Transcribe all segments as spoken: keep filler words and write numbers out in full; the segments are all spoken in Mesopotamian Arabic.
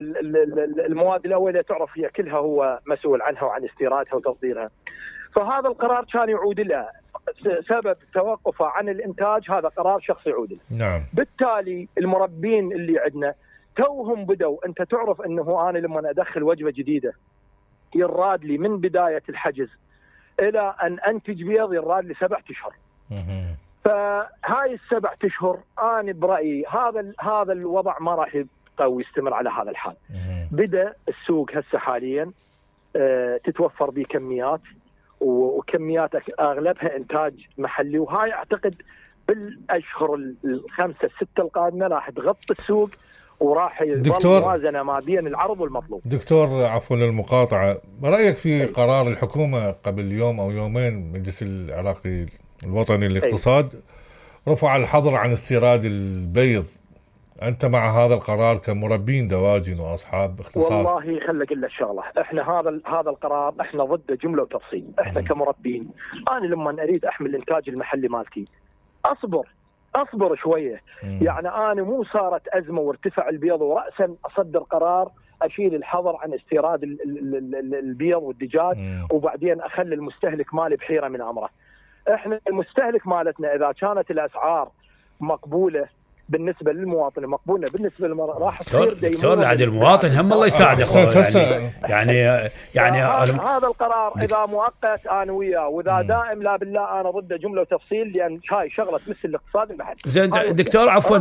المواد الاوليه تعرف هي كلها هو مسؤول عنها وعن استيرادها وتصديرها. فهذا القرار كان يعود له سبب توقفه عن الانتاج، هذا قرار شخصي يعود له. نعم. بالتالي المربين اللي عندنا توهم بدوا، انت تعرف انه انا لما ادخل وجبه جديده يراد لي من بدايه الحجز الى ان انتج بيض يراد لي سبعة اشهر. فهاي السبعة اشهر انا برايي هذا هذا الوضع ما راح يبقى ويستمر على هذا الحال. بدا السوق هسه حاليا اه تتوفر به كميات، وكميات اغلبها انتاج محلي، وهاي اعتقد بالاشهر الخمسه السته القادمه راح تغطي السوق وراح يظل موازنه ما بين العرض والمطلوب. دكتور عفوا للمقاطعه، رايك في قرار الحكومه قبل يوم او يومين مجلس العراقي الوطني للاقتصاد رفع الحظر عن استيراد البيض، انت مع هذا القرار كمربين دواجن واصحاب اختصاص؟ والله خلي اقول لك شغله، احنا هذا هذا القرار احنا ضده جمله وتفصيل. احنا كمربين انا لما اريد احمل الانتاج المحلي مالتي اصبر اصبر شويه. مم. يعني انا مو صارت ازمه وارتفع البيض وراسا اصدر قرار اشيل الحظر عن استيراد البيض والدجاج. مم. وبعدين اخلي المستهلك مالي بحيره من امره. احنا المستهلك مالتنا اذا كانت الاسعار مقبوله بالنسبه للمواطن، مقبوله بالنسبه للمرأة، راح تصير دكتور عاد المواطن هم الله يساعده. يعني يعني يعني هذا القرار اذا مؤقت انا وياه، واذا دائم لا بالله انا ضده جمله وتفصيل، لان هاي شغله تمس الاقتصاد المحلي. زين دكتور عفوا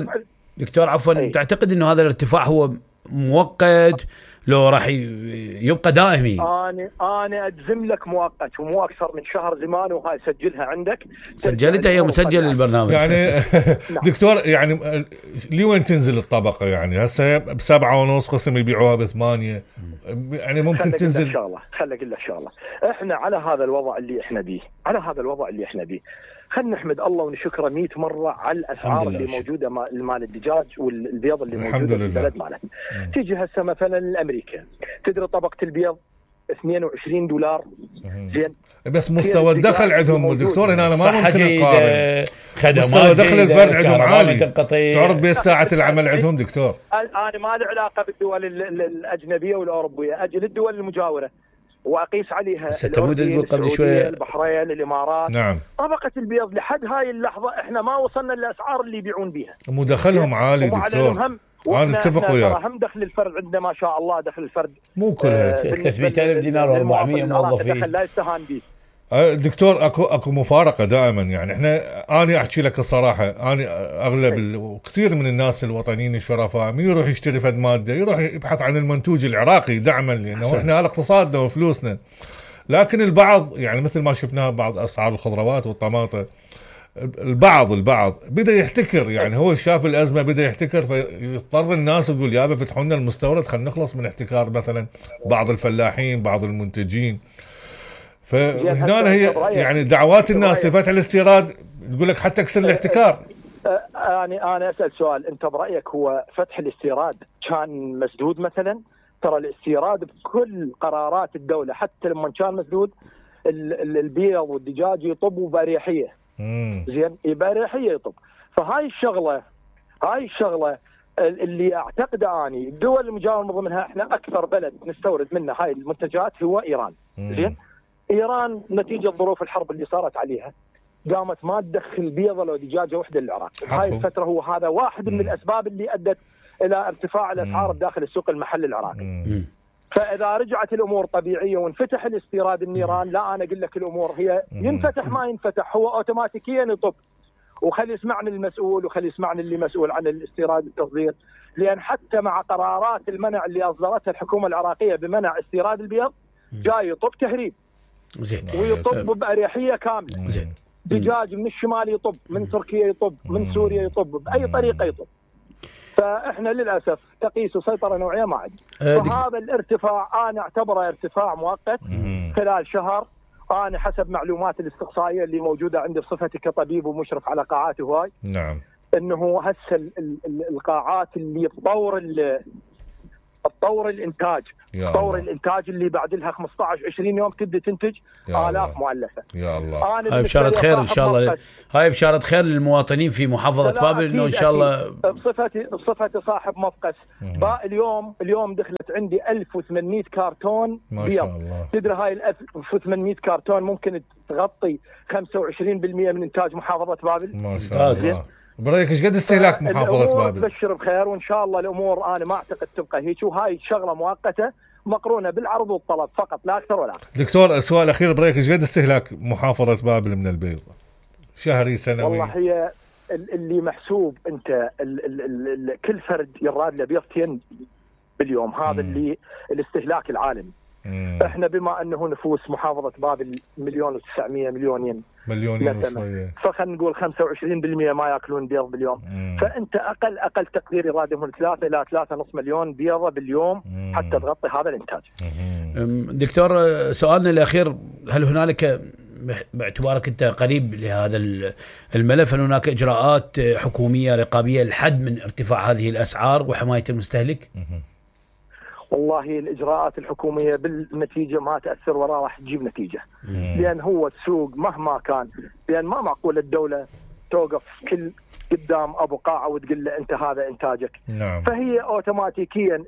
دكتور عفوا أي. تعتقد انه هذا الارتفاع هو مؤقت لو راح يبقى دائمي؟ انا انا اجزم لك مؤقت، ومو اكثر من شهر زمان، وهاي سجلها عندك. سجلتها هي مسجل البرنامج يعني. دكتور يعني لوين تنزل الطبقه؟ يعني هسه بسبعة ونص قسم يبيعوها بثمانية، يعني ممكن تنزل. ان شاء الله خلي اقول لك ان شاء الله احنا على هذا الوضع اللي احنا بيه، على هذا الوضع اللي احنا بيه خلينا نحمد الله ونشكره مئة مره على الاسعار اللي موجوده مال الدجاج والبيض اللي موجوده في البلد مالنا. تيجي هسه مثلا لامريكا تدري طبقه البيض اثنين وعشرين دولار. زين بس مستوى الدخل عندهم دكتور هنا أنا ما ممكن نقارن. مستوى دخل الفرد عندهم عالي، تعرف بس ساعه العمل عندهم دكتور. انا ما لي علاقه بالدول الاجنبيه والاوروبيه، اجي للدول المجاوره واقيس عليها السعوديه البحرين الامارات. نعم. طبقه البيض لحد هاي اللحظه احنا ما وصلنا للاسعار اللي يبيعون بيها، مدخلهم عالي دكتور. انا اتفق وياك، هم دخل الفرد عندنا ما شاء الله دخل الفرد مو كلها ثلاثمئة ألف دينار وأربعمئة موظفين، لا يستهان به. دكتور اكو اكو مفارقه دائما. يعني احنا انا احكي لك الصراحه، انا اغلب كثير من الناس الوطنيين الشرفاء من يروح يشتري فد ماده يروح يبحث عن المنتوج العراقي دعما، لانه احنا على اقتصادنا وفلوسنا. لكن البعض يعني مثل ما شفناها بعض اسعار الخضروات والطماطم، البعض البعض بدا يحتكر. يعني هو شاف الازمه بدا يحتكر، فيضطر الناس يقول يابا فتحوا لنا المستورد خلينا نخلص من احتكار مثلا بعض الفلاحين بعض المنتجين. فهنا هي يعني دعوات الناس لفتح الاستيراد تقول لك حتى كسر الاحتكار. يعني انا اسال سؤال، انت برايك هو فتح الاستيراد كان مسدود مثلا؟ ترى الاستيراد بكل قرارات الدوله حتى لما كان مسدود البيض والدجاج يطبوا باريحيه. زين باريحيه يطب. فهاي الشغله هاي الشغله اللي اعتقد اني الدول المجاوره من ضمنها احنا اكثر بلد نستورد منه هاي المنتجات هو ايران. زين ايران نتيجه ظروف الحرب اللي صارت عليها قامت ما تدخل بيضه لو دجاجه واحده للعراق. هاي الفتره هو هذا واحد من الاسباب اللي ادت الى ارتفاع الاسعار داخل السوق المحلي العراقي. فاذا رجعت الامور طبيعيه وانفتح الاستيراد النيران، لا انا اقول لك الامور هي ينفتح ما ينفتح هو اوتوماتيكيا يطب. وخلي يسمعني المسؤول وخلي يسمعني اللي مسؤول عن الاستيراد والتصدير، لان حتى مع قرارات المنع اللي اصدرتها الحكومه العراقيه بمنع استيراد البيض جاي يطب تهريب. زين ويطب باريحيه كامله. زين دجاج من الشمال يطب، من تركيا يطب، من سوريا يطب، باي طريقه يطب. فاحنا للاسف تقيس سيطره نوعيه ما عندنا. فهذا الارتفاع انا اعتبره ارتفاع مؤقت خلال شهر. انا حسب معلومات الاستقصائيه اللي موجوده عندي بصفتي كطبيب ومشرف على قاعات هواي، نعم، انه هسه القاعات اللي بطور تطور الانتاج، تطور الانتاج اللي بعد لها خمسة عشر عشرين يوم تبدا تنتج آلاف مؤلفه. يا الله. هاي بشارة خير ان شاء الله، هاي بشارة خير للمواطنين في محافظه بابل انه ان شاء الله. بصفتي بصفتي صاحب مفقس باء اليوم اليوم دخلت عندي ألف وثمانمئة كرتون ما شاء الله. تدري هاي ال ألف وثمانمئة كرتون ممكن تغطي خمسة وعشرين بالمئة من انتاج محافظه بابل. ما شاء الله. برايك ايش قد استهلاك محافظه بابل؟ تبشر بخير وان شاء الله الامور انا ما اعتقد تبقى هيك، وهاي شغله مؤقته مقرونه بالعرض والطلب فقط لا اكثر ولا اقل. دكتور السؤال الاخير، برايك ايش قد استهلاك محافظه بابل من البيض شهري سنوي؟ والله هي اللي محسوب انت ال ال ال ال كل فرد يراد له بيضتين باليوم، هذا مم. اللي الاستهلاك العالمي. مم. احنا بما انه نفوس محافظه بابل مليون وتسعمئة مليونين مليونين وشويه، فخلينا نقول خمسة وعشرين بالمئة ما ياكلون بيض باليوم. مم. فانت اقل اقل تقدير يراد من ثلاثة الى ثلاثة ونص مليون بيضه باليوم مم. حتى تغطي هذا الانتاج. مم. دكتور سؤالنا الاخير، هل هنالك باعتبارك انت قريب لهذا الملف، هل هناك اجراءات حكوميه رقابيه للحد من ارتفاع هذه الاسعار وحمايه المستهلك؟ مم. والله الإجراءات الحكومية بالنتيجة ما تأثر وراء راح تجيب نتيجة. مم. لأن هو السوق مهما كان، لأن ما معقول الدولة توقف كل قدام أبو قاعة وتقول له أنت هذا إنتاجك. نعم. فهي أوتوماتيكيا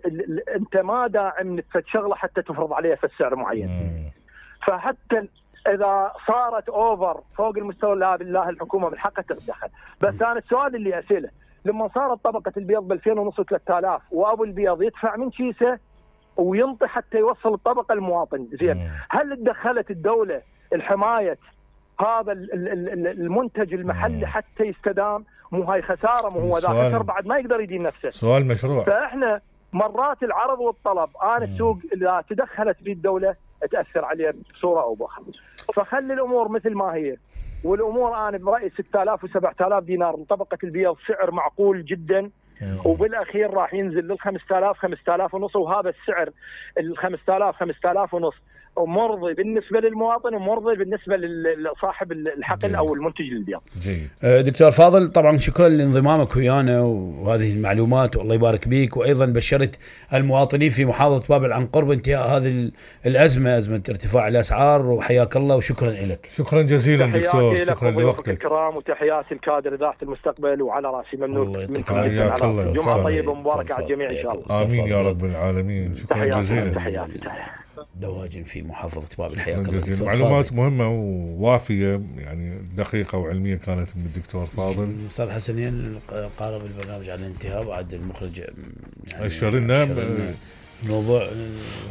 أنت ما داعم نفس شغلة حتى تفرض عليها في السعر معين. مم. فحتى إذا صارت أوفر فوق المستوى لا بالله الحكومة من حقها تتدخل. بس مم. أنا السؤال اللي أسأله، لما صارت طبقة البيض بألفين ونص وثلاثة آلاف وأبو البيض يدفع من كيسه وينطي حتى يوصل الطبقة المواطن، زين هل تدخلت الدولة الحماية هذا المنتج المحلي حتى يستدام؟ مو هاي خسارة، مو هو ذا خسر بعد ما يقدر يدين نفسه. سؤال مشروع. فإحنا مرات العرض والطلب أنا السوق إذا تدخلت في الدولة تأثر عليه بصورة أو بأخرى. فخلي الأمور مثل ما هي، والأمور أنا برأيي ستة آلاف وسبعة آلاف دينار لطبقة البيض سعر معقول جدا، وبالاخير راح ينزل لل خمسة آلاف خمسة آلاف ونص، وهذا السعر ال خمسة آلاف خمسة آلاف ونص مرضي بالنسبه للمواطن ومرضي بالنسبه لصاحب الحقل جيد. او المنتج للبيض. جيد. دكتور فاضل طبعا شكرا لانضمامك ويانا وهذه المعلومات والله يبارك بيك، وايضا بشرت المواطنين في محافظه بابل عن قرب انتهاء هذه الازمه، ازمه ارتفاع الاسعار، وحياك الله وشكرا لك. شكرا جزيلا دكتور، شكرا لوقتك الكرام، وتحياتي الكادر اذاعه المستقبل وعلى راسي ممنون منكم. حياك الله، جمعه طيبه ومباركه على الجميع ان شاء الله. امين يا رب العالمين. شكرا جزيلا. تحياتي تحياتي. دواجن في محافظة بابل، حياك الله. معلومات مهمة ووافية يعني دقيقة وعلمية كانت من الدكتور فاضل. أستاذ حسنين قارب البرنامج على الانتهاء، وعد المخرج يعني أشرنا موضوع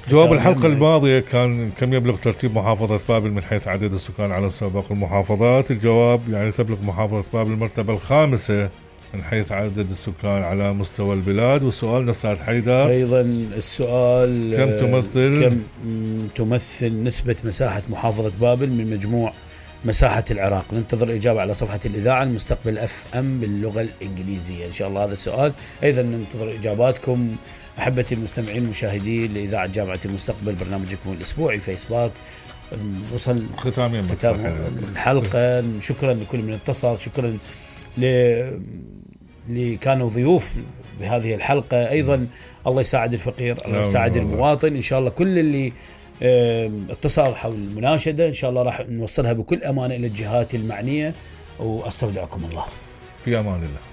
جواب الحلقة الماضية كان كم يبلغ ترتيب محافظة بابل من حيث عدد السكان على مستوى باقي المحافظات. الجواب يعني تبلغ محافظة بابل المرتبة الخامسة من حيث عدد السكان على مستوى البلاد. والسؤال أستاذ حيدر أيضا السؤال كم تمثل كم تمثل نسبة مساحة محافظة بابل من مجموع مساحة العراق؟ ننتظر الإجابة على صفحة الإذاعة المستقبل أف أم باللغة الإنجليزية إن شاء الله هذا السؤال. أيضا ننتظر إجاباتكم أحبتي المستمعين المشاهدين لإذاعة جامعة المستقبل، برنامجكم الأسبوعي فيسبوك. وصل ختام الحلقة. شكرا لكل من اتصل، شكرا اللي كانوا ضيوف بهذه الحلقة. أيضا الله يساعد الفقير، الله يساعد المواطن إن شاء الله. كل اللي اتصل حول المناشدة إن شاء الله راح نوصلها بكل أمانة إلى الجهات المعنية، وأستودعكم الله في أمان الله.